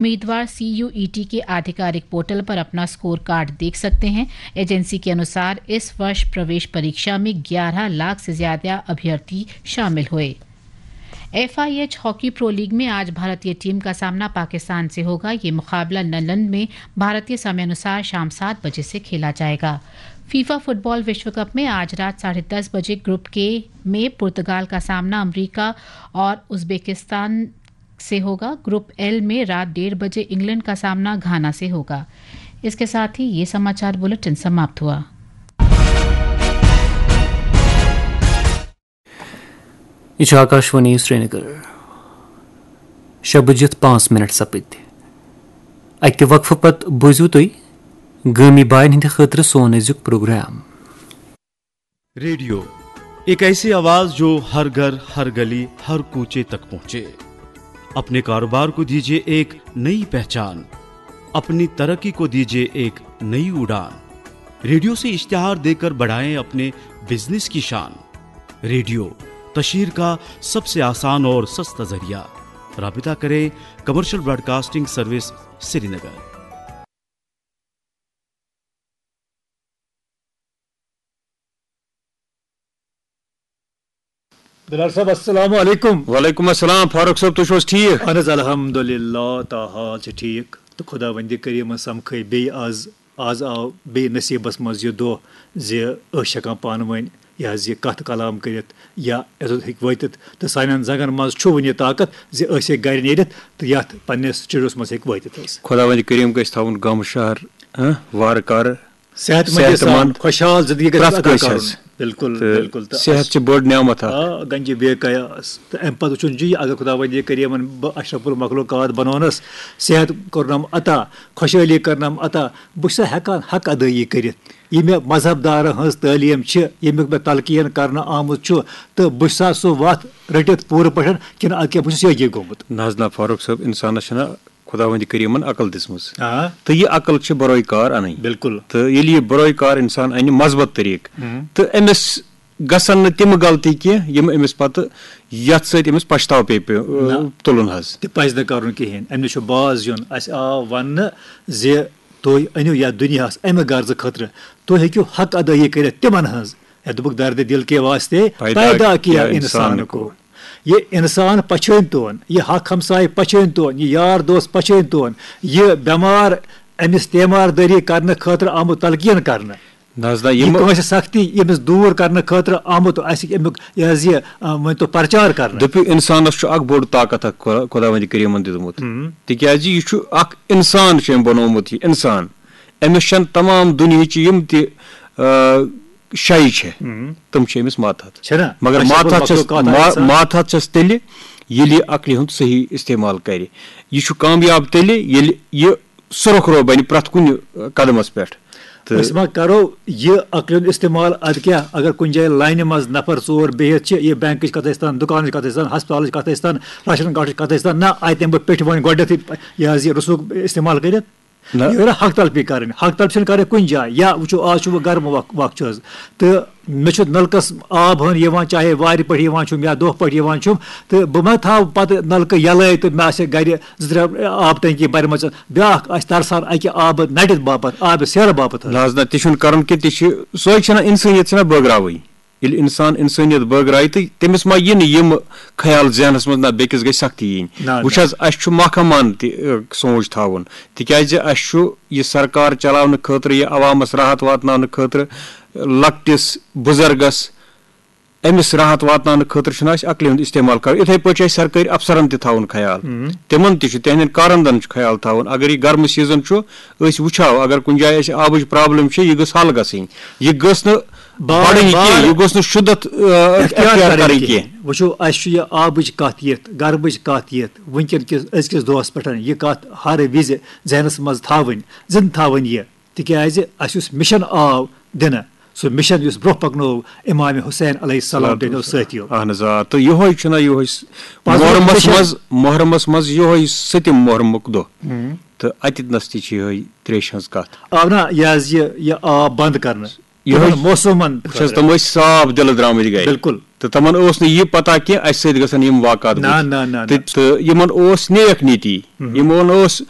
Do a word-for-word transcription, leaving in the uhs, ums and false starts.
उम्मीदवार सीयूईटी के आधिकारिक पोर्टल पर अपना स्कोर कार्ड देख सकते हैं। एजेंसी के अनुसार, इस वर्ष प्रवेश परीक्षा में ग्यारह लाख से ज्यादा अभ्यर्थी शामिल हुए। एफआईएच हॉकी प्रो लीग में आज भारतीय टीम का सामना पाकिस्तान से होगा। ये मुकाबला लंदन में भारतीय समयानुसार शाम सात बजे से खेला जाएगा। फीफा फुटबॉल विश्व कप में आज रात साढ़े दस बजे ग्रुप के में पुर्तगाल का सामना अमेरिका और उज्बेकिस्तान से होगा। ग्रुप एल में रात डेढ़ बजे इंग्लैंड का सामना घाना से होगा। इसके साथ ही ये समाचार बुलेटिन समाप्त हुआ। یہِ چھُ آکاشوانی سرینگر۔ شےٚ بٔجِتھ پانٛژھ مِنٹ سپٕدۍ۔ اَکہِ وقفہٕ پتہٕ بوٗزِو تُہۍ گٲمی باین ہٕنٛدِ خٲطرٕ سون أزیُک پروگرام۔ रेडियो, एक ऐसी आवाज जो हर घर, हर गली, हर कूचे तक पहुंचे। अपने कारोबार को दीजिए एक नई पहचान, अपनी तरक्की को दीजिए एक नई उड़ान। रेडियो से इश्तिहार देकर बढ़ाएं अपने बिजनेस की शान। रेडियो, तशहीर का सबसे आसान और सस्ता जरिया। राबिता करें कमर्शियल ब्रॉडकास्टिंग सर्विस, श्रीनगर। بلال صاحب، السلام علیکم۔ وعلیکم السلام، فاروق صٲب، تُہۍ چھِو حظ ٹھیٖک؟ اہن حظ، الحمدللہ، تاحال چھِ ٹھیٖک۔ تہٕ خۄداوندِ کریٖمَن سَمکھٲے بیٚیہِ آز، آز آو بیٚیہِ نصیٖبَس منٛز یہِ دۄہ زِ أسۍ چھِ ہٮ۪کان پانہٕ ؤنۍ یہِ حظ یہِ کَتھ کلام کٔرِتھ یا یوٚتَتھ ہیٚکہِ وٲتِتھ۔ تہٕ سانٮ۪ن زنٛگَن منٛز چھُ وٕنہِ یہِ طاقت زِ أسۍ ہیٚکۍ گَرِ نیٖرِتھ تہٕ یَتھ پنٛنِس سٹوڈیوَس منٛز ہیٚکہِ وٲتِتھ حظ۔ خۄداوندِ کریٖم گژھِ تھاوُن غم شہر، ہہ، وارٕ کارٕ۔ صحت مندی صحت سان مند خۄشحال زندگی گژھِ پرٛٮ۪تھ عطا کٲنٛسہِ کرُن۔ حظ۔ بالکل، تہٕ بالکل۔ تہٕ صحت اَسہِ چھِ بٔڑ نعمت اکھ۔ آ، گنجہِ بے قیاس۔ تہٕ اَمہِ پتہٕ وٕچھُن چھُ یہِ، اگر خۄداوندِ کریٖمن بہٕ اشرف المخلوقات بنوونس، صحت کوٚرنم عطا، خۄشحٲلی کٔرنم عطا، بہٕ چھُسا ہٮ۪کان حق ادٲیی کٔرِتھ؟ یہِ مےٚ مذہب دارن ہٕنٛز تعلیٖم چھِ، ییٚمیُک مےٚ تلقین کرنہٕ آمُت چھُ، تہٕ بہٕ چھُسا سُہ وتھ رٔٹِتھ پوٗرٕ پٲٹھۍ کِنہٕ اَدٕ کیٛاہ بہٕ چھُس یہِ گوٚمُت؟ نہ حظ نہ، فاروق صٲب، انسانس چھنہ خۄداوندِ کریٖمن عقل دِژمٕژ۔ آ۔ تہٕ یہِ عقل چھِ بروے کار انٕنۍ۔ بالکل۔ تہٕ ییٚلہِ یہِ بروے کار انسان انہِ مضبوط طریٖقہٕ، ہم۔ تہٕ أمِس گژھن نہٕ تِم غلطی کینٛہہ یِم أمِس پتہٕ یتھ سۭتۍ أمِس پچھتاو پیٚیہِ پے-، نہ۔ تُلُن حظ۔ تہِ پزِ نہٕ کرُن کِہیٖنۍ۔ أمِس چھُ باز یُن۔ اسہِ آو وننہٕ زِ تُہۍ أنِو یتھ دُنیاہس امہِ غرضہٕ خٲطرٕ۔ تُہۍ ہیٚکِو حق ادٲیی کٔرِتھ تِمن ہٕنٛز۔ ہے، دوٚپُکھ، دردِ دِل کے واسطے پیدا کیا انسان کو۔ یہِ انسان پچھٲنۍ تون، یہِ حق ہمسایہِ پچھٲنۍ تون، یہِ یار دوست پچھٲنۍ تون، یہِ بٮ۪مار أمِس تیمار دٲری کرنہٕ خٲطرٕ آمُت تلقین کرنہٕ۔ نہ حظ نہ، یہِ یِم کٲنٛسہِ سختی ییٚمِس دوٗر کرنہٕ خٲطرٕ آمُت، اسہِ امیُک یہِ حظ یہِ، آ، ؤنۍ تو پرچار کرنہٕ۔ دٔپِو، انسانس چھُ اکھ بوٚڑ طاقت اکھ خۄ-، خۄداوندِ کریٖمن دیُتمُت۔ ہم۔ تِکیازِ یہِ چھُ اکھ انسان چھُ أمۍ بنوومُت، یہِ انسان۔ أمِس چھَنہٕ تمام دُنیہٕچ یِم تہِ، آ، شے چھِ، ہم۔ تِم چھِ أمِس ماتحت۔ چھِ نا؟ مگر اشرف ماتحت چھَس، المخلوقات ما-، انسان۔ ماتحت چھَس تیٚلہِ، ییٚلہِ یہِ عقلہِ ہُنٛد صحیح استعمال کرِ۔ یہِ چھُ کامیاب تیٚلہِ، ییٚلہِ یہِ سُرخ رو بنہِ پرٛٮ۪تھ کُنہِ قدمس پٮ۪ٹھ۔ تہٕ أسۍ ما کرو یہِ عقلہِ ہُنٛد استعمال؟ ادٕ کیٛاہ، اگر کُنہِ جایہِ لاینہِ منٛز نفر ژور بِہِتھ چھِ، یہِ بینکٕچ کتھ ٲسۍ تن، دُکانٕچ کتھ ٲسۍ تن، ہسپتالٕچ کتھ ٲسۍ تن، راشن کارڈٕچ کتھ ٲسۍ تن، نہ، اتہِ دِمہٕ بہٕ پیٚٹھۍ وۄنۍ گۄڈٕنیتھٕے یہِ حظ یہِ رسوٗخ استعمال کٔرِتھ۔ نہ۔ یہِ گٔے نہ حق تلفی کرٕنۍ۔ حق تلفی چھَنہٕ کرٕنۍ کُنہِ جایہِ۔ یا وٕچھو، آز چھُ وۄنۍ گرم وق-، وق چھُ حظ۔ تہٕ مےٚ چھُ نلکس آب ہن یِوان، چاہے وارِ پٮ۪ٹھ یِوان چھُم یا دۄہ پٲٹھۍ یِوان چھُم، تہٕ بہٕ ما تھاوٕ پتہٕ نلکہٕ یَلَے تہٕ مےٚ آسہِ گرِ زٕ ترٛےٚ آب ٹنکی بَرِمَژٕ؟ بیٛاکھ آسہِ ترسان اَکہِ آبہٕ نَٹِتھ باپتھ، آبہٕ سیرٕ باپتھ حظ۔ نہ حظ نہ، تہِ چھُنہٕ کرُن کینٛہہ، تہِ چھِ، سۄے چھَنہ اِنسٲنیت چھَنہ بٲگراوٕنۍ۔ ییٚلہِ اِنسان اِنسٲنیت بٲگرایہِ، تہٕ تٔمِس ما یِنہٕ یِم خیال ذہنس منٛز، نہ، بیٚکِس گژھِ سختی یِنۍ۔ نہ، وٕچھ نہ۔ حظ، اَسہِ چھُ محکمہٕ ہن تہِ، ٲ، سونٛچ تھاوُن، تِکیٛازِ اَسہِ چھُ یہِ سرکار چلاونہٕ خٲطرٕ، یہِ عوامس راحت واتناونہٕ خٲطرٕ، لۄکٹِس بُزرگس أمِس راحت واتناونہٕ خٲطرٕ چھُنہٕ اَسہِ عقلہِ ہُنٛد استعمال کرُن۔ یِتھَے پٲٹھۍ چھُ اَسہِ سرکٲرۍ افسرن تہِ تھاوُن خیال۔ ہم۔ تِمن تہِ چھُ، تِہنٛدٮ۪ن کارندن چھُ خیال تھاوُن۔ اگر یہِ گرمہٕ سیٖزن چھُ، أسۍ وٕچھو، اگر کُنہِ جایہِ اَسہِ آبٕچ پرابلم چھِ، یہِ گٔژھ حل گژھٕنۍ۔ یہِ گٔژھ نہٕ بار بڑٕنۍ بار کینٛہہ، یہِ گوٚژھ نہٕ شدت، آ، اختیار اختیار کرٕنۍ کرٕنۍ کینٛہہ۔ کینٛہہ۔ وٕچھِو، اَسہِ چھُ یہِ آبٕچ کَتھ یِتھ، گرمٕچ کَتھ یِتھ، وٕنکیٚن کِس أزکِس دۄہَس پٮ۪ٹھ یہِ کَتھ ہر وِزِ ذہنَس منٛز تھاوٕنۍ، زِندٕ تھاوٕنۍ یہِ، تِکیٛازِ اَسہِ یُس مِشن آو دِنہٕ، سُہ مِشن یُس برٛونٛہہ پَکنوو اِمام حُسین علیہ السلام تہٕ سٲتھیو۔ اہن حظ، آ، تہٕ یِہوٚے چھُنہ، یِہوٚے س-، پَتہٕ محرمَس مِشن منٛز، محرمَس منٛز یِہوٚے سٔتِم محرمُک دۄہ۔ ہُم۔ تہٕ اَتٮ۪تھ نَس تہِ چھِ یِہوٚے ترٛیشہِ ہٕنٛز کَتھ۔ آو نہ یہِ حظ یہِ، یہِ آب بنٛد کرنہٕ؟ یِہوٚے تِمن موسمن وٕچھ حظ، خٲطرٕ۔ تِم ٲسۍ صاف دِلہٕ درٛامٕتۍ گرِ۔ بِلکُل۔ تہٕ تِمن اوس نہٕ یہِ پتہ کینٛہہ اَسہِ سۭتۍ گژھن یِم واقعات نہ، گٔژھِتھ۔ نہ، نہ، نہ۔ تہٕ، تہٕ یِمن اوس نیک نیتی۔ ہُم۔ یِمن اوس